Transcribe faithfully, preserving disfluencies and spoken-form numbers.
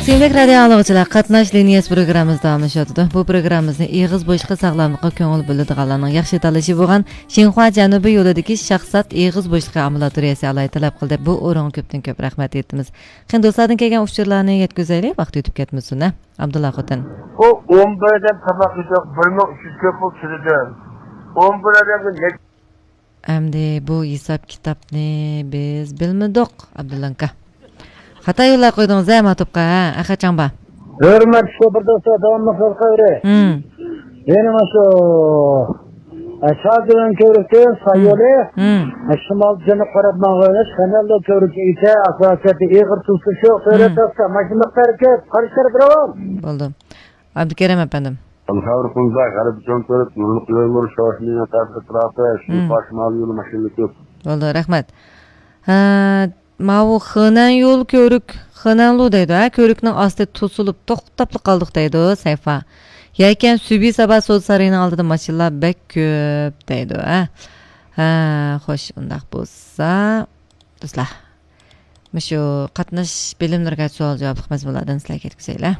سۆيۈملۈك رادىيو ئاڭلىغۇچىلار، قاتناش لىنىيەسى پروگراممىمىز داۋاملىشىۋاتىدۇ. بۇ پروگراممىمىزنى ئېغىز بوشلۇقى ساغلاملىققا كۆڭۈل بۆلىدىغانلارنىڭ ياخشى تاللىشى بولغان شىنخۇا جەنۇبىي يولىدىكى شاخسات ئېغىز بوشلۇقى ئامبۇلاتورىيەسى ئالاھىدە تەلەپ قىلدى. بۇ ئورۇنغا كۆپتىن كۆپ رەھمەت ئېيتىمىز. قېنى دوستلاردىن كەلگەن ئۇچۇرلارنى يەتكۈزەيلى، ۋاقىت ئۆتۈپ كەتمىسۇن، ھە؟ ئابدۇللا خوتۇن. ئۇ ئون بىردىن تاماق يېدۇق، بىر مىڭ ئۈچ يۈز كۆپ پۇل تۆلىدىم. ئون بىر ئادەمگە نەچچە ئەمدى بۇ ھېساب كىتابنى بىز بىلمىدۇق، ئابدۇللانكا. خاتا يوللاپ قويدىڭىز ھە ماتوپقا، ھە، ئەخەچاڭبا. ھۆرمەتلىك شوپۇر دوستلار، داۋاملىق يول قايرى. ھىم. يەنە مانا شۇ، ئە، شاجىلان كۆۋرۈكتىن سايولى، ھىم. ئە، شىمال جەنۇب قاراپ ماڭغان يۆنىلىش، خەنەللو كۆۋرۈكى ئېتە، ئاساسىيەتتە ئېغىر تۇتۇشۇش يوق، سۆرەت ماشىنا ھەرىكەت، قارشى تەرەپ راۋان. بولدى. ئابدۇكېرىم ئەپەندىم. ئەلخەۋر قۇمدا غەربىي چوڭ كۆۋرۈك، نۇرلۇق يول، شوشمېڭ تەرەپ ئەتراپى، شىنخۇا شىمالىي يولى ماشىنىلىك كۆپ. بولدى، رەھمەت. ھە، ماۋۇ خېنەن يول كۆۋرۈك، خېنەنلۇ دەيدۇ، ھە، كۆۋرۈكنىڭ ئاستى توسۇلۇپ توختاپلا قالدۇق دەيدۇ، سەيفا. يەكەن سۈبھى سابا سودا سارىيىنىڭ ئالدىدا ماشىنىلار بەك كۆپ دەيدۇ، ھە. ھە، خوش، ئۇنداق بولسا، دوستلار، مۇشۇ قاتناش بىلىملىرىگە سوئال جاۋابلىق مەزمۇنلاردىن سىلەرگە يەتكۈزەيلى.